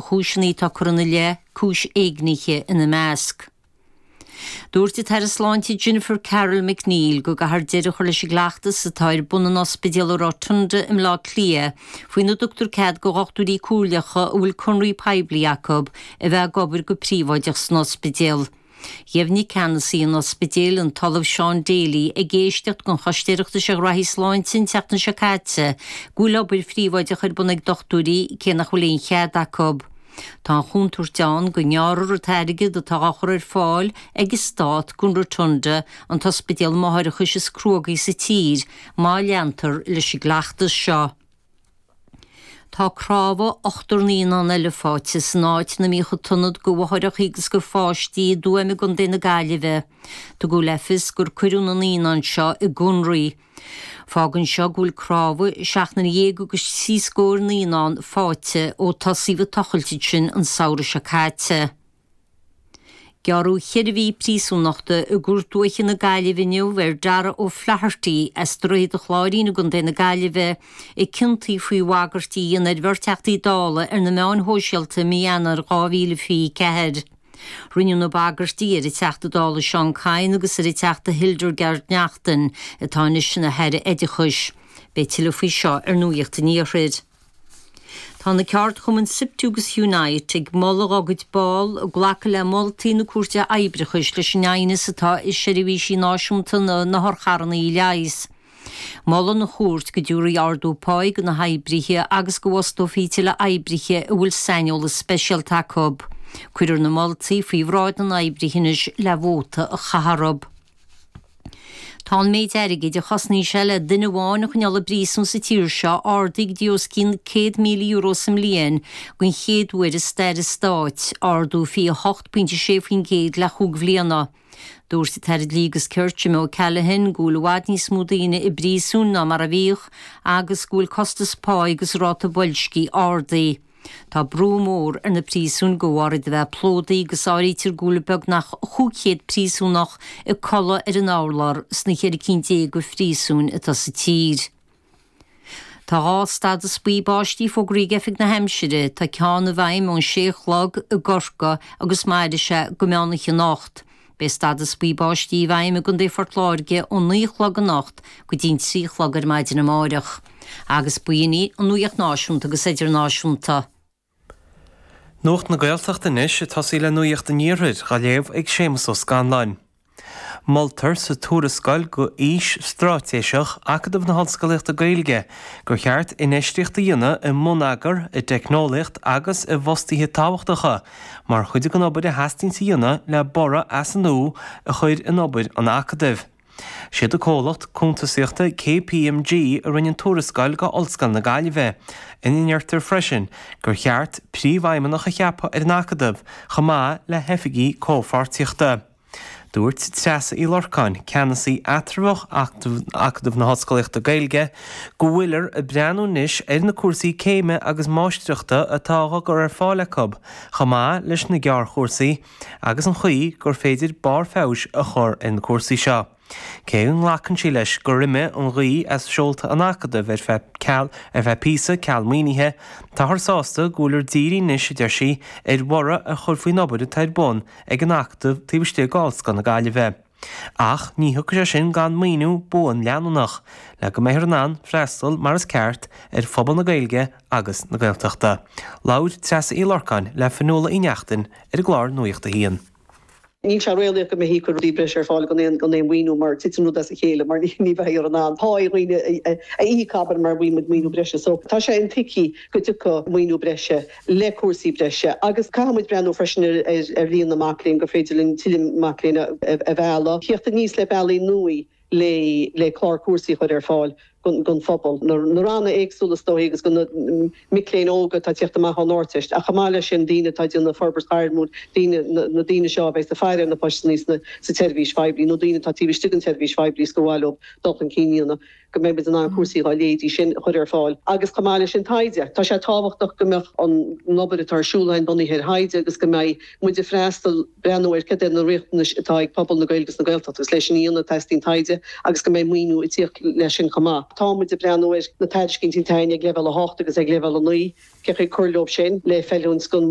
Chúiseanna atá curtha ina leith, cúis éignithe ina measc. Dúirt an tAire Sláinte Jennifer Carroll MacNeill go gcaithfear deireadh a chur leis an gcleachtas atá ar bun in Ospidéal an Rotunda i mBleá Cliath faoina dtugtar cead do dhochtúirí comhairleacha a bhfuil conraí poiblí acu a bheith ag obair go príobháideach san ospidéal. Dheimhnigh ceannasaí an ospidéil, an tOllamh Sean Daly, ag éisteacht don Choiste Oireachtais ar Ghraithí Sláinte an tseachtain seo caite, go bhfuil obair phríobháideach ar bun ag dochtúirí cé nach bhfuil aon chead acu. Tá an chontúirt ann go ngearrfar an t-airgead atá á chur ar fáil ag an Stát don Rotunda, an t-ospidéal máithreachais is cruógaí sa tír, má leantar leis an gcleachtas seo. Tá cnámha ochtar naíonán eile faighte san áit ina mbíodh an t-ionad do mháithreacha agus do pháistí i dTuaim i gContae na Gaillimhe. Tugadh le fios gur cuireadh na naíonáin seo i gconraí. Fágann seo go bhfuil cnámha seachtar dhéag agus trí scór naíonán faighte ó tosaíodh an tochailt ansin an samhradh seo caite. Gearradh cheithre mhí príosúnachta i gCúirt Dúiche na Gaillimhe inniu ar Darragh O'Flaherty as Droichead an Chláirín i gContae na Gaillimhe, a ciontaíodh faoi bhagairtí a dhéanamh ar bheirt Theachtaí Dála ar na meáin shóisialta i mí Eanáir 2024. Rinneadh na bagairtí ar an Teachta Dála Seán Kyne agus ar an Teachta Hildegarde Naughton, atá anois ina hAire Oideachais. Beidh tuilleadh faoi seo ar Nuacht an Iarthair. Tá na ceardchumainn Siptu agus Unite ag moladh dá gcuid ball glacadh le moltaí na Cúirte Oibreachais leis an aighneas atá i seirbhísí náisiúnta na n-otharcharranna a leigheas. Molann an chúirt go dtabharfaí ardú páí do na hoibrithe agus go bhfostófaí tuilleadh oibrithe a bhfuil saineolas speisialta acu. Cuirfear na moltaí faoi bhráid na n-oibrithe anois le vóta a chaitheamh orthu. Tá an méid airgid a chosnaíonn sé le duine amháin a choinneáil i bpríosún sa tír seo ardaithe go dtí os cionn €100,000 sa mbliain den chéad uair i stair an stáit, ardú 28.6% le chúig bhliana. Dúirt an tAire Dlí agus Cirt Jim O'Callaghan go bhfuil i bhfad níos mó daoine i bpríosúin ná mar a bhíodh agus go bhfuil costas páí agus ráta boilscithe ardaithe. Tá brú mór ar na príosúin de bharr iad a bheith plódaithe agus áirítear go bhfuil beagnach 500 príosúnach ag codladh ar an urlár sna 14 cinn de phríosúin atá sa tír. Tá dhá stadas buí báistí fógraithe ag Oifig na hAimsire. Tá ceann i bhfeidhm ón sé a chlog i gCorcaigh agus mairfidh sé go meán oíche anocht. Beidh stádas buí báistí i bhfeidhm i gContae Phort Láirge ón 9 a chlog anocht go dtí'n 3 a chlog ar maidin amáireach. Agus b'in í an nuacht náisiúnta agus idirnáisiúnta. Nuacht na Gaeltachta anois, ag tosaí le Nuacht an Iarthair, á léamh ag Séamus Ó Scanláin. Moltar sa tuarascáil go Fhís Straitéiseach Acadamh na hOllscolaíochta Gaeilge gur cheart infheistíocht a dhéanamh i mbonneagar, i dteicneolaíocht agus i bhfostaithe tábhachtacha mar chuid den obair a theastaíonns a dhéanamh le borradh as an nua a chur in obair an Acadaimh. Siad an comhlacht cuntasaíochta KPMG a rinne an tuarascáil go Ollscoil na Gaillimhe, ina ndeirtear freisin gur cheart príomhfheidhmeannach a cheapadh ar an Acadamh chomh maith le hoifigigh comhpháirtíochta. Dúirt Treasa Uí Lorcáin, ceannasaí eatramhach Acadamh na hOllscolaíochta Gaeilge, go bhfuilear ag breathnú anois ar na cúrsaí céime agus máistreachta atá á gcur ar fáil acu, chomh maith leis na gearrchúrsaí, agus an chaoi gur féidir barr feabhais a chur ar na cúrsaí seo. Cé go nglacann sí leis gur imigh an ghaoth as seolta an Acadaimh ar feadh ceal ar feadh píosa, ceal maoinithe, táthar sásta go bhfuilear dírithe anois, a deir sí, ar bhorradh a chur faoin obair atá ar bun ag an Acadamh taobh istigh d'Ollscoil na Gaillimhe. Ach ní thiocfaidh sé sin gan maoiniú buan leanúnach, le go mbeifear in ann freastal mar is ceart ar phobal na Gaeilge agus na Gaeltachta. Labhair Treasa Uí Lorcáin le Fionnuala Uí Neachtain ar an gclár Nuacht a hAon. Níl sé réalaíoch go mbeifí ag cur rudaí breise ar fáil gan aon gan aon mhaoiniú mar titeann rud as a chéile mar ní bheifear in ann pá dhaoine a íoc abair mura bhfaighidh muid maoiniú breise. So tá sé intuigthe go dtiocfadh maoiniú breise le cúrsaí breise agus caithfidh muid breathnú freisin ar ar líon na mac léinn gur féidir linn tuilleadh mac léinn a mhealladh, theacht aníos le bealaí nua le le clár cúrsaí a chur ar fáil don phobal, na ranna éagsúla is dóichí agus do na mic léinn óga atá ag tíocht amach ón Ardteist ach chomh maith leis sin daoine atá ag déanamh forbairt ghairmiúil, daoine, na daoine seo a bheidh ag faire ar na postannaí sna sa tseirbhís phoiblí nó daoine atá taobh istigh den tseirbhís phoiblí is gur mhaith leo dul chun cinn a dhéanamh. go mbeidh muid in ann cúrsaí dá leithéidí sin a chur ar fáil agus chomh maith leis sin taighde. Tá sé tábhachtach go mbeadh an obair atá ar siúl againn bunaithe ar thaighde agus go mbeidh muid ag freastal, breathnú ar cad é na riachtanais atá ag pobal na Gaeilge agus na Gaeltachta agus leis sin a dhéanamh teastaíonn taighde agus go mbeidh maoiniú ag tíocht leis sin chomh maith. tá muid ag breathnú ar na tairiscintí atá againn ag leibhéal 8 agus ag leibhéal 9, cén chaoi cur leo sin le feiliúint don.